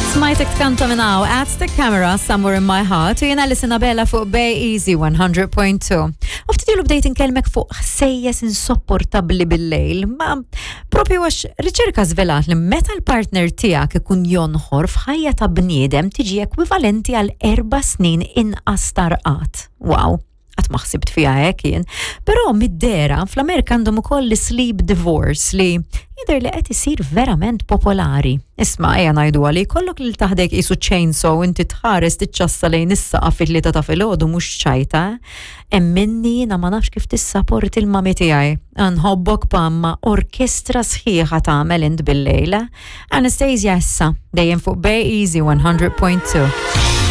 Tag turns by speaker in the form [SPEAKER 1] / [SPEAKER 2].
[SPEAKER 1] Smajtek tkanta minn hawn At the Camera Somewhere in My Heart u jiena li Sinabella fuq Bay Easy 100.2. U ftit ilu bdejt inkellmek fuq ħsejjes insopportabbli bil-lejl, ma propju għax riċerka żvelat li meta l-partner tiegħek ikun jonħor f'ħajja ta' bniedem tiġi ekwivalenti għal erba' snin inqas tarqat. Wow qatt ma ħsibt fiha hekk jien. Però mid-dera fl-Amerika għandhom ukoll l-sleep divorce li jidher li qed isir verament popolari. Isma' ejja ngħidu għali kollok lil taħdek qisu chainsaw inti tħares tiċċassa lejn is-saqaf fit-tlieta ta' filgħodu mhux ċajta. Emminni jiena ma nafx kif tissaporti l-mami tiegħi. Nħobbok pamma orkestra sħiħa tagħmel int bil-lejla. Anastasia issa dejjem fuq Bay Easy 100.2.